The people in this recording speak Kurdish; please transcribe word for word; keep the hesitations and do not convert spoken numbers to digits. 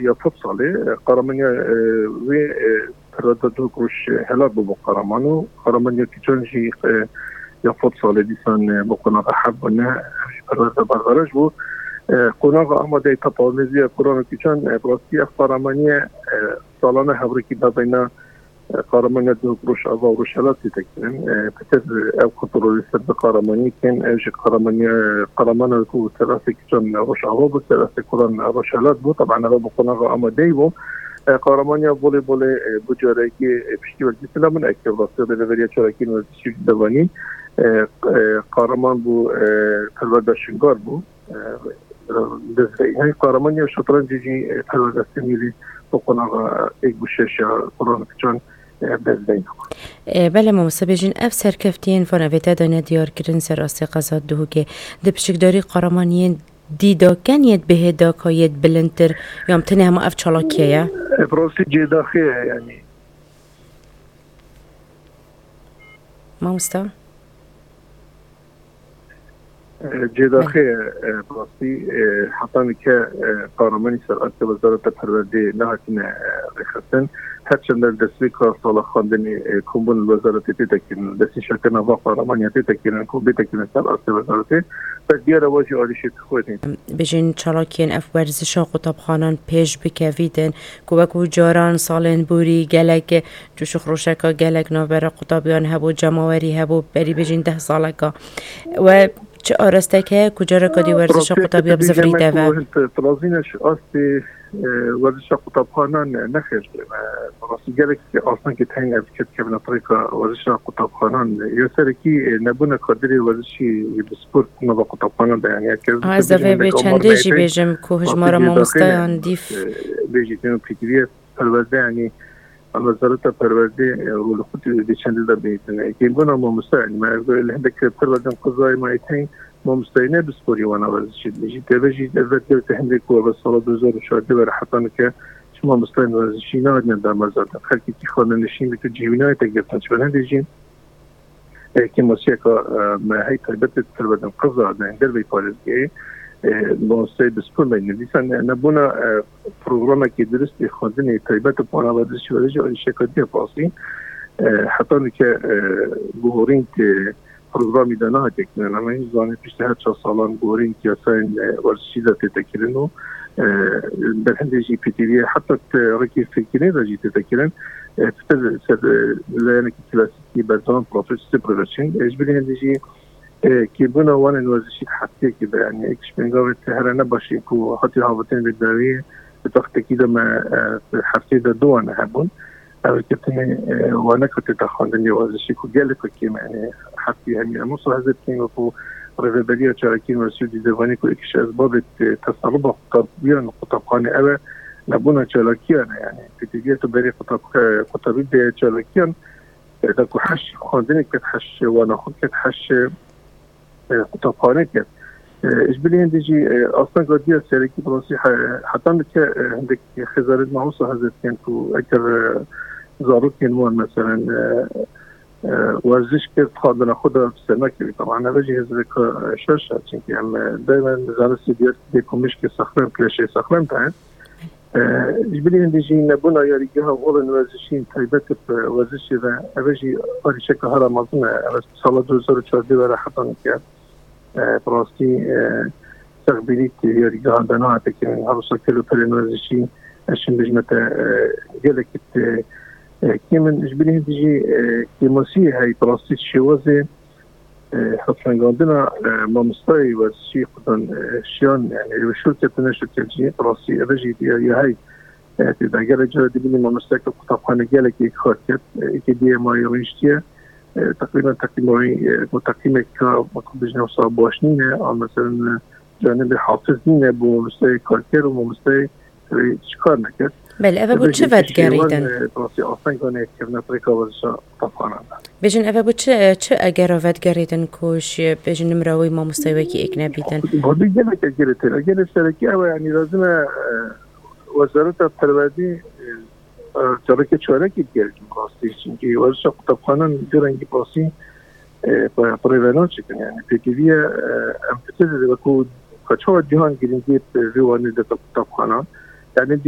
Ya fot salê, e, qaramaniya, e, wê, e, perwerde duh roj, e, helat bû bo qaraman û qaramaniya kîçan jî, e, ya fot salê dîsan, e, bo qonaxa heb bûne, ev jî perwerde berxeraj bû. E, qonaxa amadeyî tapawmêziya kuran û kîçan, e, bi rastî ev qaramaniye, e, salane hevrêkî da beyna, e, qaramaniya duh rojava û rojhelat tê tekirin. E, pitir ev kontrolê ser bi qaramaniyê kin, ev jî qaramaniya, qaramana ku ser asê kîçan rojava bû, ser asê kuran rojhelat bû. Taban ev bi qonaxa amadeyî bû. E, qaramaniya bolê bolê, e, bi carekî, e, piştî wekî filamin, e, ke rastî rêveberiya çalakiyên werzişî devanî, e, e, qaraman bû, e, perwerda şingar bû. E, e, dest veyî. Hey, qaramaniya şetrancê jî, e, perwerda semîlî bi qonaxa êk bû şeş ya kuran kiçan, e, dest veyî. E, belê mamoste bêjin, ev serkeftiyên van evê te de nediyar kirin ser astê qeza Duhokê. Di piçikdarî qaramaniyên dî de ken yêt bihê da ka yêt bilindtir, ya em tenê hema ev çalakiye ye? E, bi rastî cêdaxê ye, yanî. Mamosta? E, cêdaxê ye, e, bi rastî, e, heta nike, e, qaramanî ser astê Wezareta Perwerdê nehatine, e, rêxistin. Her çend li destpêka sala xwendinê, e, kombûn li wezaretê tête kirin, destnîşankirina va qaramaniya tête kirin, ku bête kirin ser astê wezaretê. Bes diyar e, wa jî alîşê xwe tê. Bêjin çalakiyên ev werzişa qutabxanan pêş bikevîtin, ku wekû caran salên borî gelek coşixroşeka gelek navbera qutabiyan hebû, cemawerî hebû, berî bêjin deh saleka. We çi arasteke ku careka dî werzişa qutabiya bizivirî deve? Tilazîne ji astê, e, werzişa qutabxanan nexêr. E, rastî gelek astengê teng ev ketkevine rêka werzişa qutabxanan. Ya serekî, e, nebûna kadirê werzişî bi spor nava qutabxanan de, yani, ya ke Ha, ez dibêjim devê bê çendê jî bêjim ku hijmara mamosteyan dîf bêjî têno pêkiriye perwerde, yani, Wezareta Perwerdê, e, rolê xwe di çendê de bihîstin. Kêmbûna mamoste, yani, me li hindek perwerdên qezayê me êtên mamosteyî ne bi sporî wana werzişî dibêjî. Teve jî ev vetkevite hindek ku ev sala du hezar û çardeh were heta nike çi mamosteyên werzişî nehatine damezrandin. Xelkekî xanenişîn bî tu cihê wî nayête girtin. Ji ber hindê jî e, kêmasiyeka, e, me hey taybet ê perwerdên qeza, me derveyî parêzgehê, e, mamosteyê bi spor meyne. Dîsa ne-, nebûna, e, programekî dirust ê xwendinê taybet û parabet ji were jî alîşeka dî ya pasî. E, heta nike, e, guhorîn tê programî de nehatiye kirin. Em hîn zanîn piştî her çar salan guhorîn yasayên, e, werzişî de tête kirin û, e, berhindê jî pêtiviyê heta te rêkê fêrkirinê de jî tête kirin. E, pitir ser, e, layenekî klasîk ki berdewam protesto protection. E, ji bilî hindî jî, e, kêbûna wanên werzişî di heftiyekê de, yani, êk ji pêngavê te here ne baş ê ku hatî havtin vê dawiyê, di textekî de me, e, di heftê de du wane hebûn. Ev girtinê, e, wane ku tê te xwendin yê werzişî ku gelek kêm, yani, heftî hemî em wisa hezir kêm ku rêveberiya çalakiyên werzişî dî devanî ku êk ji ezbabê, e, teselluba qutab-, yan qutabxanê ew e, nebûna çalakiyan e, yani, pêdiviya tu berê qutab-, e, qutabî bê çalakiyan, e, da ku heş xwendinê ket, heş wana xwe ket, heş, e, qutabxane ket. E, ji bilî hindî jî, e, asteng diya serekî bi rastî he-, heta nike, e, hindek xêzanên me wisa hezir dikin ku eger, e, zarokên wan, meselen, e, e, werziş kir, xwendina xwe de bi ser nekevî. Taban, ev jî hêzireka, e, şaş e, çimkî em, e, daymen zanistî diyar dê ku mişkê sexlem, kleşê sexlem de hene. E, ji bilî hindî jî nebûna yarîgeha holên werzişî taybet bi werzişê ve, ev jî arîşeka hera mezin e. Ev sala du hezar û çardeh were heta nike, e, bi rastî, e, sexbînî yarîgehan de nehate kirin. Her wisa kelopelên werzişî, ez çim bijme te, e, gelekî, e, e, kêm in. Ji bilî hindî jî, e, kêmasiyê heye, bi rastî şêwazê e, hevşengandina, e, mamostayê werzişî xudan, e, şiyan, yani, ev şûr ketine şûr ket jî, rastî, ev jî diya ya hey. E, tê de gelek cara dibînî mamostayeke qutabxane gelekî kar ket, e, êkê diye mayî rûniştiye, e, teqrîben teqîma wî, e, ku teqîmeke, wekî bijne wisa baş nîne, a, meselen, e, canibê hafiz nîne, bo mamostayê karker û mamostayê wê çi kar neket. Belê, ev e bo çi vedgerîtin? Rastî asteng hane kevne rêka werzişa qutabxanan de. Bêjin, ev e bo çi, çi egera vedgerîtin ku şî, bêjin, nimra wî mamostayê wekî êk nebîtin? Bo gelek egerê tê. Egerê serekî ew e, yanî lazim e, e, Wezareta Perwerdî, e, e, careke çarekî digerîtin rastî. Çimkî werzişa qutabxanan du rengî rastî, e, bi, bi rêve naçikin. Yani, pêdiviye, e, em pitir wekû ka çawa cîhan girîngiyê bi vê wanê dete qutabxanan. Yani,